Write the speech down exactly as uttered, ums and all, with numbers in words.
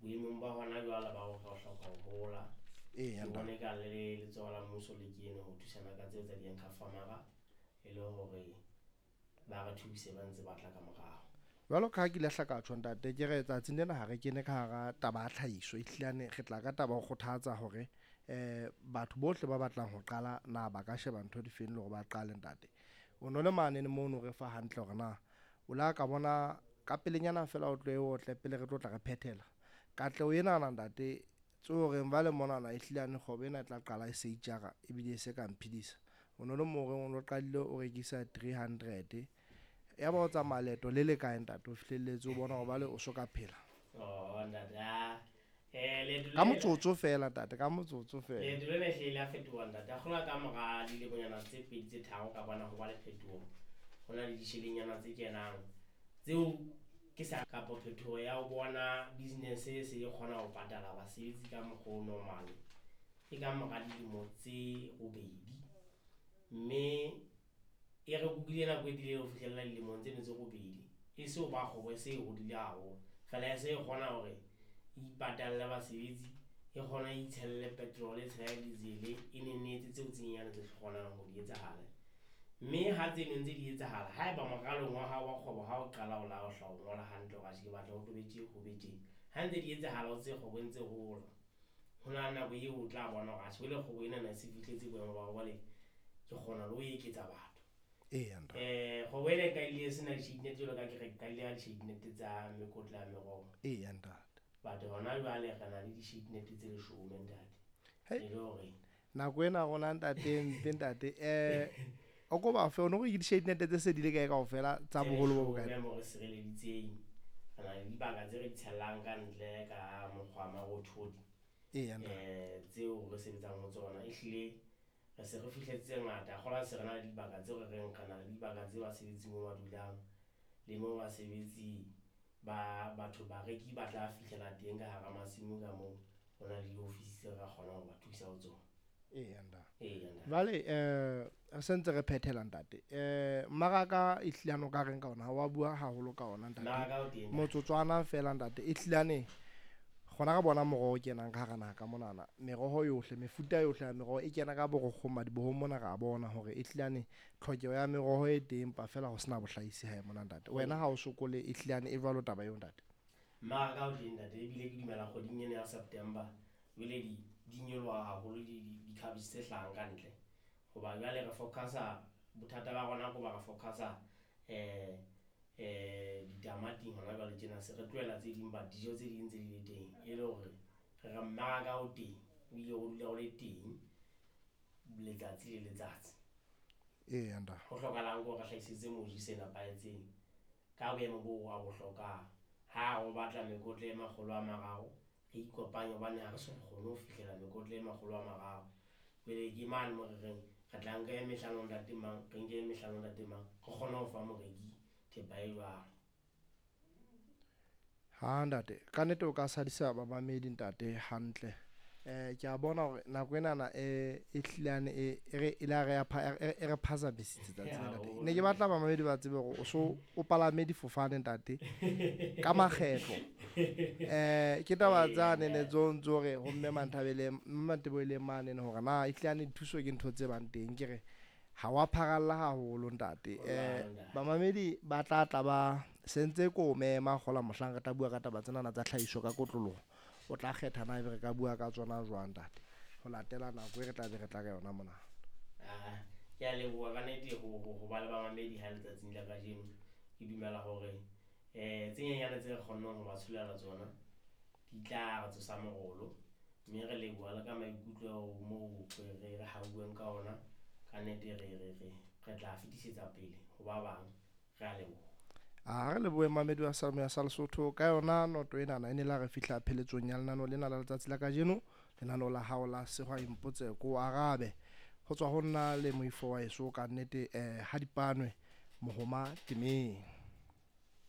Boemong ba hona jwale ba hore re hloka ho hola. Eya Ke ntate. bone ka le letsoho la mmuso le kene ho thusana ka tseo tsa di-anchor farmer e le hore ba re thuse ba ntse ba tla ka morao. Jwalo ka ha ke ile hla ka tjho ntate, ke re tsatsing lena ha re kene ka hara taba ya tlhahiso, ehlilane re tla ka taba ho kgothatsa hore eh batho bohle ba batlang ho qala na ba ka sheba ntho difeng le hore ba qale ntate. O no le mane mono re fa hantle hore na o la ka bona ka pelenyana fela o tlo e otle pele re tlo tla re phethela. Katleho enana ntate tseo reng ba le monana ehlilane kgwebo ena e tla qala e se itjara ebile e se ka mphidisa. O no le mo reng o no qadile o rekisa three hundred ya ba o tsamaya leeto le le kae ntate o fihlelletse o bona hore bale o so ka phela. Oh ntate, ah, eh leeto Ka le motsotso fela ntate, ka motsotso fela. Leeto lena ehlile la fetoha ntate. A kgola ka mora dilemonyana tse pedi tse tharo ka bona ho ba le phetoho. Ho na le ditjhelenyana tse kenang tseo ke sa kapa phetoho ya ho bona business e se e kgona ho patala basebetsi ka mokgwa o normal. Ke ka mora dilemo tse robedi. Mme e re kukile nako e telele ho fihlella dilemong tseno tse robedi. E se ho ba kgwebo e se e hodile haholo. Fela e se e kgona hore e ipatalle basebetsi, e kgona e itshelle petrol, e tshele diesel, e nenne etse tseo tse nyenyane tse kgonang ho di etsahala. Mme ha tseno ntse di etsahala, haeba moralong wa hao wa kgwebo ha o qala o la o hla o ngola hantle hore atjhe ke batla ho tlo be tje, ho be tje. Ha ntse di etsahala o tse kgwebo e ntse hola. Ho na le nako eo o tla bona hore atjhe jwale kgwebo enana e se fihletse boemo ba hore jwale ke kgona le ho eketsa batho. Eya ntate. Eh, kgwebo ena e qadile e sena di-shade net jwalo ka ke re qadile ka di-shade net tsa mekotla ya meroho. Eya ntate. But hona jwale re na le di-shade net tse leshome ntate. Hei. E le hore Nako ena rona ntate mpe ntate, eh o ko ba fe o no re ke di-shade net tse se di le kae kaofela tsa Tse boholo bo leshome bokae? moo re sireleditseng. Re na le dibaka tse re di tshellang ka ntle ka mokgwa wa marothodi. Eya ntate. Eh, tseo re sebetsang ho tsona. Ehlile re se re fihletse tse ngata. Kgola se re na le dibaka tseo re reng re na le dibaka tse basebetsi moo ba dulang le moo basebetsi ba batho bareki ba tla fihlela teng ka hara masimo ka moo. Ho na le diofisi tse re ka kgonang ho ba thusa ho tsona. Eya ntate. Eya ntate. Jwale eh re sentse re phethela ntate. Eh mmaraka ehlilane o ka reng ka ona? Ha wa bua haholo ka ona ntate. Mmaraka o teng. Motsotswana fela ntate. Ehlilane kgona re bona moroho o kenang ka hara naha ka monana. Meroho yohle, mefuta yohle ya meroho e kena ka borokgo madibohong mona re a bona hore ehlilane tlhokeho ya meroho e teng empa fela ho sena bohlahisi hae mona ntate. Wena ha o sokole ehlilane e jwalo taba eo ntate. Mmaraka o teng ntate, ebile ke dumela kgweding ena ya September jwale di, di nyoloha haholo di, di, di-cabbage tse hlahang ka ntle. Hoba jwale re focus-a, bothata ba rona ke hoba re focus-a, eh, eh, ditamating hona jwale tjena, se re tlohela tse ding, but dijo tse ding tse di le teng. E le hore re re mmaraka o teng, ebile o dula o le teng letsatsi le letsatsi. Eya ntate. Ho hlokahalang ke hore re hlahisetse moji se nepahetseng ka boemo boo a bo hlokang. Ha o batla mekotla e makgolo a mararo, re ikopanye hobane ha re so kgone ho fihlela mekotla e makgolo a mararo. Jwale ke mane moo re reng re tla nka e mehlano ntate mang, re nke e mehlano ntate mang, re kgone ho fa moreki thepa e jwalo. Ha ntate, ka nnete o ka sadisa bamamedi ntate hantle. Eh, ke a bona hore nako enana e, e hlilane e, e re, e la re ya pha-, e, e re phazamisitse tsatsi lena ntate. Ne ke batla bamamedi ba tsebe hore o so o palame difofane ntate ka makgetlo. Eh, ke taba tsane ne tso ntso re ho mme Manthabele, mme Manteboele mane ne hore na ehlilane dithuso ke ntho tse bang teng, ke re ha wa pharalla haholo ntate. Eh, bamamedi ba tla tla ba sentse ko mema kgola mohlang re tla bua ka taba tsenana tsa tlhahiso ka kotloloho. O tla kgetha na ebe re ka bua ka tsona jwang ntate, ho latela nako e re tla be re tla ka yona mona. Ah, ke a leboha ka nnete ho, ho, ho ba le bamamedi ha letsatsing la kajeno. Ke dumela hore, eh, tse nyenyane tse re kgonneng ho ba tsholela tsona di tla re tsosa morolo, mme re leboha le ka maikutlo moo re, re, re hauweng ka ona. Ka nnete re, re, re, re tla fetisetsa pele ho ba bang. Re a leboha. A re lebohe mamedi wa Sa-, sa Lesotho ka yona noto enana e ne la re fihla pheletsong ya lenaneo lena la letsatsi la kajeno, lenaneo la hao la Sehwai Mpotse Ko Arabe. Ho tswa ho nna le moifo wa heso ka nnete, eh, ha dipanwe mohoma temeng.